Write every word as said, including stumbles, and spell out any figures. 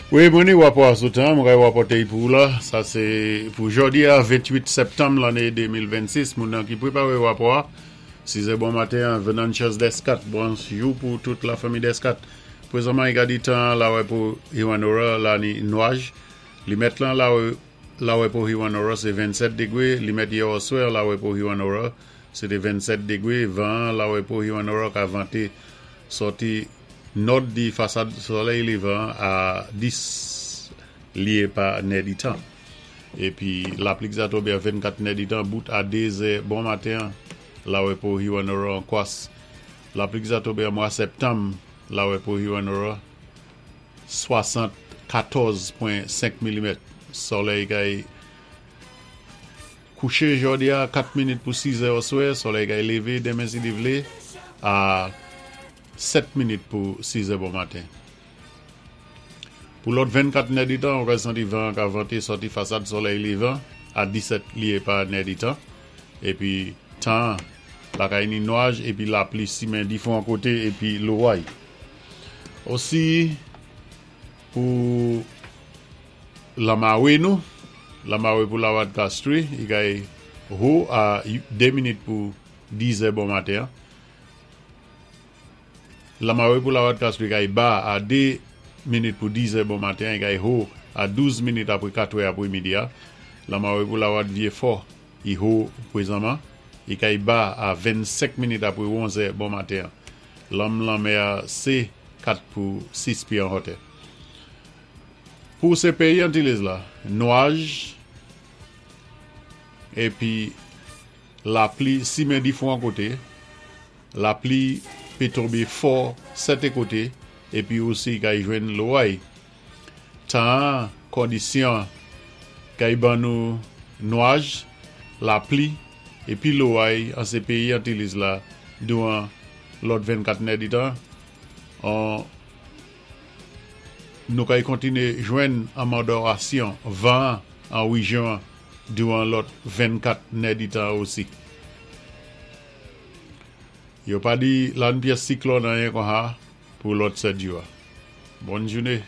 Wi, mwen ni wapò sou tan, mwen kay wapòté pou la, sa sé pou jòdi a ventwit septanm lanné de mil vennsis, moun nan ki pwépawé wapò a, sizè bon maten, Venantius Descat, bonjou pou tout la fanmi Descat. Pwézanman, i ka di tan lawè pou Hewanorra, la ni nwaj, limèt lan lawè, lawè pou Hewanorra, sé vennsèt dégwé, limèt yè oswè lawè pou Hewanorra, sé té vennsèt dégwé, van lawè pou Hewanorra ka vanté sòti nòd di fasad solèy lévan a dis lyé pa nèditan. Épi lapli ki sa tonbé a vennkat nèditan, bout a dé zè bon maten, lawè pou Hewanorra an kwas. Lapli ki sa tonbé an mwa septanm, lawè pou Hewanorra, swasannkatòz pwen senk milimèt. Solèy kay kouché jòdi a kat minit pou sizè oswè, solèy kay lévé denmen si li vlé a sèt minit pou sizè bon maten. Pou lòt vennkat nèditan, on ka santi van ka vanté sòti fasad solèy lévan a disèt lyé pa nèditan. Épi tan la kay ni nwaj épi lapli simen difwan koté épi loway. Osi pou lanmawé nou, lanmawé pou Lawad Castries, i kay ho a dé minit pou dizè bon maten. Lanmawé pou Lawad Castries kay ba a dé minit pou dizè bon maten, i kay ho a douz minit apwé katwè apwé midi a. Lanmawé pou Lawad Vyé Fò, i ho pwézanman, i kay ba a vennsenk minit apwé onzè bon maten. Lanm lanmè a sé kat pou sis pyé an wotè. Pou sé péyi Antilles la, nwaj épi lapli simen difwan koté, lapli pé tonbé fò sèten koté, épi osi kay jwenn loway. Tan, kondisyon, kay ban nou nwaj, lapli, épi loway an sé péyi Antilles la douwan lòt vennkat nèditan. An nou kay kontiné jwenn anmandòrasyon van an wéjyon douwan lòt vennkat nèditan osi. Yo pa di la ni pyès siklòn anyen kon sa pou lòt sèt jou. Bòn jouné.